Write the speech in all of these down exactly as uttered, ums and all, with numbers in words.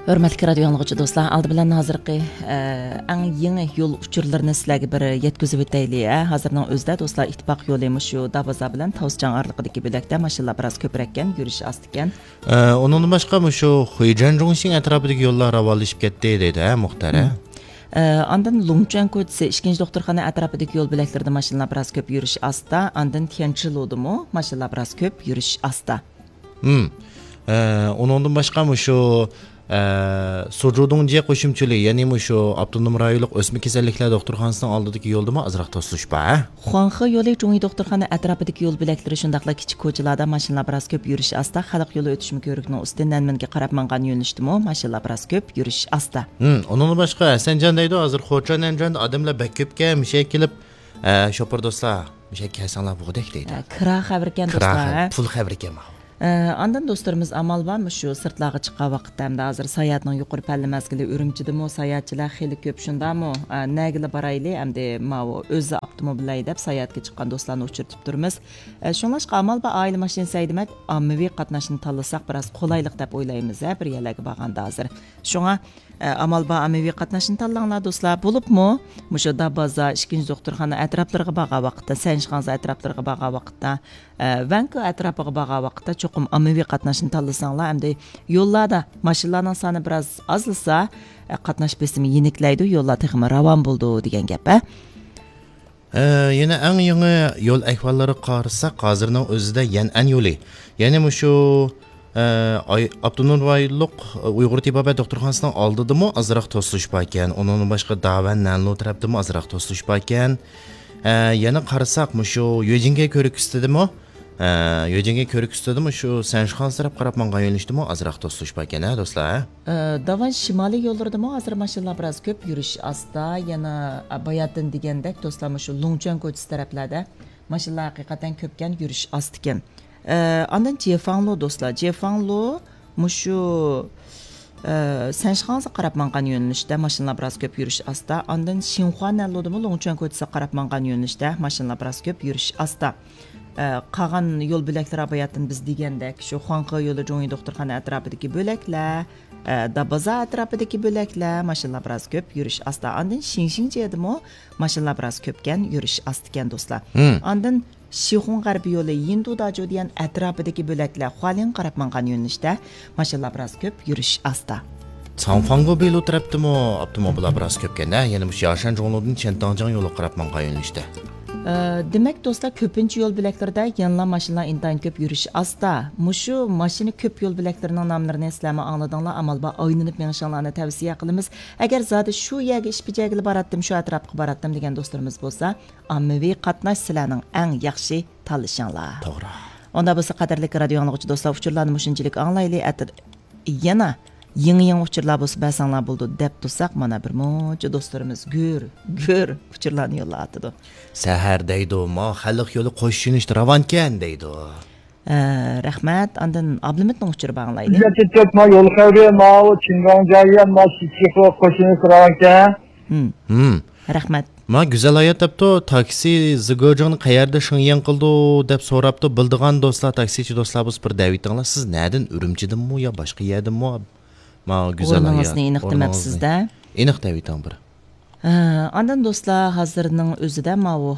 ھۆرمەتلىك رادىيو ئاڭلىغۇچى دوستلار، ئالدى بىلەن ھازىرقى، ئە، ئەڭ يېڭى يول ئۇچۇرلىرىنى سىلەرگە بىر يەتكۈزۈپ ئۆتەيلى، ھە. ھازىرنىڭ ئۆزىدە دوستلار، ئىتتىپاق يولى مۇشۇ دابازا بىلەن تاۋسىچاڭ ئارىلىقىدىكى بۆلەكتە ماشىنىلار بىراز كۆپرەككەن، يۈرۈش ئاستىكەن. ئە، ئۇنىڭدىن باشقا مۇشۇ خۇيجەن جۇڭشىڭ ئەتراپىدىكى يوللار راۋانلىشىپ كەتتى دەيدۇ، ھە، مۇختەر، ھە؟ مم. ئە، ئاندىن لۇڭچۈەن كوچىسى، ئىككىنچى دوختۇرخانا ئەتراپىدىكى يول بۆلەكلىرىدە ماشىنىلار بىراز كۆپ، يۈرۈش ئاستا. ئاندىن تيەنچىلۇدىمۇ ماشىنىلار بىراز كۆپ، يۈرۈش ئاستا. ھىم. ئە، ئۇنىڭدىن باشقا مۇشۇ، ئە، سۇجۇدۇڭجيې قوشۇمچىلى، يەنى مۇشۇ ئاپتونوم رايونلۇق ئۆسمە كېسەللىكلەر دوختۇرخانىسىنىڭ ئالدىدىكى يولدىمۇ ئازراق توسۇلۇش بار، ھە؟ خۇاڭخې يولى جۇڭيى دوختۇرخانا ئەتراپىدىكى يول بۆلەكلىرى، شۇنداقلا كىچىك كوچىلاردا ماشىنىلار بىراز كۆپ، يۈرۈش ئاستا. خەلق يولى ئۆتۈشمە كۆۋرۈكىنىڭ ئۈستى نەنمىنگە قاراپ ماڭغان يۆنىلىشتىمۇ ماشىنىلار بىراز كۆپ، يۈرۈش ئاستا. ھىم، ئۇنىڭدىن باشقا ھەسەنجان دەيدۇ، ھازىر خوچا نەنجاندا ئادەملەر بەك كۆپكەن، مۇشۇ يەرگە كېلىپ، ئە، شوپۇر دوستلار، مۇشۇ يەرگە كەلسەڭلار بولغۇدەك دەيدۇ. ئە، كىرا خەۋەركەن كىرا دوستلار، خەۋەر، ھە؟ پۇل خەۋىركەن ماۋۇ. ئە، ئاندىن دوستلىرىمىز ئامال بار، مۇشۇ سىرتلارغا چىققان ۋاقىتتا ھەمدە ھازىر ساياھەتنىڭ يۇقىرى پەللە مەزگىلى ئۈرۈمچىدىمۇ، ساياھەتچىلەر خېلى كۆپ، شۇنداقمۇ؟ ئە، نەگىلا بارايلى، ئەمدى ماۋۇ ئۆزى ئاپتوموبىل ھەيدەپ ساياھەتكە چىققان دوستلارنى ئۇچرىتىپ تۇرىمىز. ئە، شۇڭلاشقا ئامال بار ئائىلە ماشىنىسى ھەيدىمەك، ئاممىۋى قاتناشنى تاللىساق بىراز قولايلىق دەپ ئويلايمىز، ھە، بىر يەرلەرگە بارغاندا ھازىر. شۇڭا، ئە، ئامال بار ئاممىۋى قاتناشنى تاللاڭلار دوستلار. بولۇپمۇ مۇشۇ دابازا، ئىككىنچى دوختۇرخانا ئەتراپلىرىغا بارغان ۋاقىتتا، سەنشىخاڭزا ئەتراپلىرىغا بارغان ۋاقىتتا، ئە، ۋەنكو ئەتراپىغا بارغان ۋاقىتتا چوقۇم ئاممىۋى قاتناشنى تاللىساڭلار، ئەمدى يوللاردا ماشىنىلارنىڭ سانى بىراز ئازلىسا، ئە، قاتناش بېسىمى يېنىكلەيدۇ، يوللار تېخىمۇ راۋان بولىدۇ دېگەن گەپ، ھە. ئە، يەنە ئەڭ يېڭى يول ئەھۋاللىرىغا قارىساق، ھازىرنىڭ ئۆزىدە يەنئەن يولى، يەنى مۇشۇ، ئە، ئاي-، ئاپتونوم رايونلۇق ئۇيغۇر تېبابەت دوختۇرخانىسىنىڭ ئالدىدىمۇ ئازراق توسۇلۇش باركەن. ئۇنىڭدىن باشقا داۋەن نەنلۇ تەرەپتىمۇ ئازراق توسۇلۇش باركەن. ئە، يەنە قارىساق، مۇشۇ يۆجىڭگە كۆۋرۈك ئۈستىدىمۇ، ئە، يۆجىڭگە كۆۋرۈك ئۈستىدىمۇ شۇ سەنشىخاڭزا تەرەپ قاراپ ماڭغان يۆنىلىشتىمۇ ئازراق توسۇلۇش باركەن، ھە، دوستلار، ھە؟ ئە، داۋان شىمالىي يوللىرىدىمۇ ھازىر ماشىنىلار بىراز كۆپ، يۈرۈش ئاستا. يەنە، ئە، باياتىن دېگەندەك، دوستلار، مۇشۇ لۇڭچۈەن كوچىسى تەرەپلەردە ماشىنىلار ھەقىقەتەن كۆپكەن، يۈرۈش ئاستىكەن. ئە، ئاندىن جيېفاڭلۇ، دوستلار، جيېفاڭلۇ مۇشۇ، ئە، سەنشىخاڭزا قاراپ ماڭغان يۆنىلىشتە ماشىنىلار بىراز كۆپ، يۈرۈش ئاستا. ئاندىن شىنخۇا نەنلۇدىمۇ لۇڭچۈەن كوچىسىغا قاراپ ماڭغان يۆنىلىشتە ماشىنىلار بىراز كۆپ، يۈرۈش ئاستا. ئە، قالغان يول بۆلەكلىرى باياتىن بىز دېگەندەك، شۇ خۇاڭخې يولى جۇڭيى دوختۇرخانا ئەتراپىدىكى بۆلەكلەر، ئە، دابازا ئەتراپىدىكى بۆلەكلەر، ماشىنىلار بىراز كۆپ، يۈرۈش ئاستا. ئاندىن شىڭشىڭجيېدىمۇ ماشىنىلار بىراز كۆپكەن، يۈرۈش ئاستىكەن، دوستلار. ھىم. ئاندىن شىخۇڭ غەربىي يولى، يىندۇ داجۇ دېگەن ئەتراپىدىكى بۆلەكلەر، خۇالىڭغا قاراپ ماڭغان يۆنىلىشتە ماشىنىلار بىراز كۆپ، يۈرۈش ئاستا. ساڭفاڭگو بېلۇ تەرەپتىمۇ ئاپتوموبىللار بىراز كۆپكەن، ھە؟ يەنە مۇشۇ ياشەن جۇڭلۇدىن چيەنتاڭجياڭ يولىغا قاراپ ماڭغان يۆنىلىشتە. ئە، دېمەك، دوستلار، كۆپىنچە يول بۆلەكلىرىدە يەنىلا ماشىنىلار ئىنتايىن كۆپ، يۈرۈش ئاستا. مۇشۇ ماشىنا كۆپ يول بۆلەكلىرىنىڭ ناملىرىنى سىلەرمۇ ئاڭلىدىڭلار، ئامال بار ئايلىنىپ مېڭىشىڭلارنى تەۋسىيە قىلىمىز. ئەگەر زادى شۇ يەرگە ئىش بېجەرگىلى باراتتىم، شۇ ئەتراپقا باراتتىم دېگەن دوستلىرىمىز بولسا، ئاممىۋى قاتناش سىلەرنىڭ ئەڭ ياخشى تاللىشىڭلار. توغرا. ئۇنداق بولسا، قەدىرلىك رادىيو ئاڭلىغۇچى دوستلار، ئۇچۇرلارنى مۇشۇنچىلىك ئاڭلايلى. ئەتە يەنە يېڭى-يېڭى ئۇچۇرلار بولسا بەرسەڭلار بولىدۇ، دەپ تۇرساق، مانا بىر مۇنچە دوستلىرىمىز گۈر، گۈر ئۇچۇرلارنى يوللاۋاتىدۇ. سەھەر دەيدۇ، ما خەلق يولى قوشۇش يۆنىلىشتە راۋانكەن دەيدۇ. ئە، رەھمەت. ئاندىن ئابلىمىتنىڭ ئۇچۇرى بار، ئاڭلايلى. بىلەتتە چۆپ، ما يول خەۋىرى، ماۋۇ چىڭگاڭجيايۈەن، ما شىچىخۇ قوشۇش يۆنىلىشى راۋانكەن. ھىم. ھىم. رەھمەت. ما گۈزەل ھايات دەپتۇ، تاكسى زىگېجىڭنى قەيەردە شېڭيەن قىلىدۇ دەپ سوراپتۇ، بىلىدىغان دوستلار، تاكسىچى دوستلار بولسا بىر دەۋېتىڭلار. سىز نەدىن، ئۈرۈمچىدىنمۇ يا باشقا يەردىنمۇ؟ ما گۈزەل ھايات، ئورنىڭىزنى ئېنىق دېمەپسىز-دە. ئېنىق دەۋېتىڭ بىر. ھە، ئاندىن دوستلار، ھازىرنىڭ ئۆزىدە ماۋۇ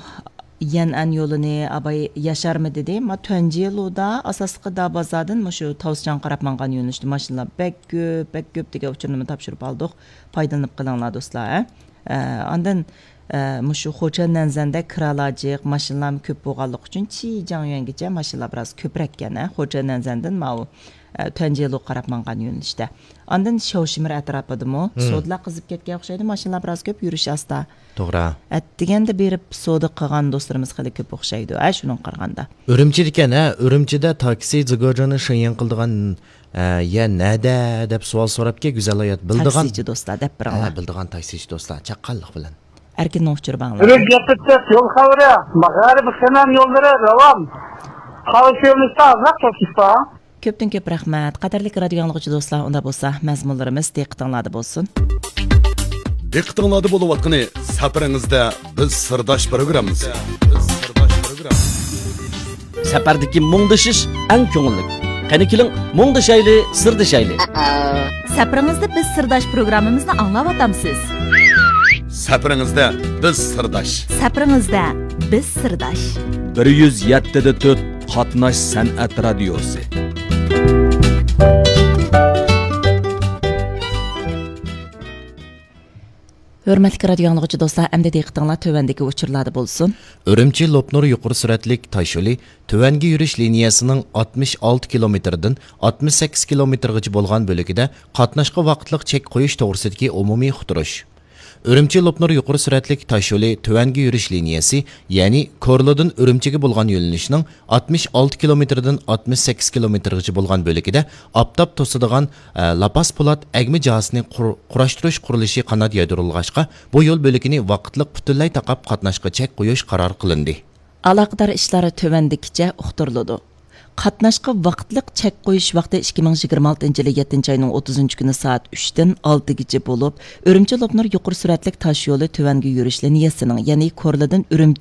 يەنئەن يولىنى ئاباي ياشارمۇ دېدى. ما تۈەنجيېلۇدا ئاساسلىقى دابازادىن مۇشۇ تاۋسىچاڭغا قاراپ ماڭغان يۆنىلىشتە ماشىنىلار بەك كۆپ، بەك كۆپ دېگەن ئۇچۇرنىمۇ تاپشۇرۇپ ئالدۇق. پايدىلىنىپ قېلىڭلار دوستلار، ھە. ئە، ئاندىن، ئە، مۇشۇ خوچەن نەنزەندە كىرالار جىق، ماشىنىلارمۇ كۆپ بولغانلىقى ئۈچۈن چىجياڭيۈەنگىچە ماشىنىلار بىراز كۆپرەككەن، ھە، خوچەن نەنزەندىن ماۋۇ، ئە، تۈەنجيېلۇغا قاراپ ماڭغان يۆنىلىشتە. ئاندىن شياۋشىمىر ئەتراپىدىمۇ سودىلار قىزىپ كەتكەن ئوخشايدۇ، ماشىنىلار بىراز كۆپ، يۈرۈش ئاستا. توغرا. ئەتىگەندە بېرىپ سودا قىلغان دوستلىرىمىز خېلى كۆپ ئوخشايدۇ، ھە، شۇنىڭغا قارىغاندا. ئۈرۈمچىدىكەن، ھە، ئۈرۈمچىدە تاكسى زىگېجىڭنى شېڭيەن قىلىدىغان، ئە، يەر نەدە دەپ سوئال سوراپكەن، گۈزەل ھايات بىلىدىغان. تاكسىچى دوستلار دەپ بېرىڭلار. ھە، بىلىدىغان تاكسىچى دوستلار، چاققانلىق بىلەن. ئەركىننىڭ ئۇچۇرى بار، ئاڭلاڭلار. ئۈرۈمچى يېقىپ يول خەۋىرى، ماغارىپ خېنەن يوللىرى راۋان. قاۋشىۋېلىشتا ئازراق توسۇش بار. كۆپتىن كۆپ رەھمەت. قەدىرلىك رادىيو ئاڭلىغۇچى دوستلار، ئۇنداق بولسا مەزمۇنلىرىمىز دىققىتىڭلاردا بولسۇن. دىققىتىڭلاردا بولۇۋاتقىنى سەپىرىڭىزدە بىز سىرداش پروگراممىسى. سەپەردىكى مۇڭدىشىش ئەڭ كۆڭۈللۈك. قېنى كېلىڭ، مۇڭدىشايلى، سىردىشايلى. سەپىرىڭىزدە بىز سىرداش پروگراممىمىزنى ئاڭلاۋاتامسىز؟ سەپىرىڭىزدە بىز سىرداش. سەپىرىڭىزدە بىز سىرداش. بىر يۈز يەتتە دە تۆت قاتناش سەنئەت رادىيوسى. ھۆرمەتلىك رادىيو ئاڭلىغۇچى دوستلار، ئەمدى دىققىتىڭلار تۆۋەندىكى ئۇچۇرلاردا بولسۇن. ئۈرۈمچى لوپنۇر يۇقىرى سۈرئەتلىك تاشيولى تۆۋەنگە يۈرۈش لىنىيەسىنىڭ ئاتمىش ئالتە كىلومېتىردىن ئاتمىش سەككىز كىلومېتىرغىچە بولغان بۆلىكىدە قاتناشقا ۋاقىتلىق چەك قويۇش توغرىسىدىكى ئومۇمىي ئۇقتۇرۇش. ئۈرۈمچى لوپنۇر يۇقىرى سۈرئەتلىك تاشيولى تۆۋەنگە يۈرۈش لىنىيەسى، يەنى كورلىدىن ئۈرۈمچىگە بولغان يۆنىلىشنىڭ ئاتمىش ئالتە كىلومېتىردىن ئاتمىش سەككىز كىلومېتىرغىچە بولغان بۆلىكىدە ئاپتاپ توسىدىغان، ئە، لاپاس پولات ئەگمە جاھىسىنى قۇر-، قۇراشتۇرۇش قۇرۇلۇشى قانات يايدۇرۇلغاچقا، بۇ يول بۆلىكىنى ۋاقىتلىق پۈتۈنلەي تاقاپ قاتناشقا چەك قويۇش قارار قىلىندى. ئالاقىدار ئىشلار تۆۋەندىكىچە ئۇقتۇرۇلىدۇ. قاتناشقا ۋاقىتلىق چەك قويۇش ۋاقتى ئىككى مىڭ يىگىرمە ئالتىنچى يىلى يەتتىنچى ئاينىڭ ئوتتۇزىنچى كۈنى سائەت ئۈچتىن ئالتىگىچە بولۇپ، ئۈرۈمچى لوپنۇر يۇقىرى سۈرئەتلىك تاشيولى تۆۋەنگە يۈرۈش لىنىيەسىنىڭ، يەنى كورلىدىن ئۈرۈمچى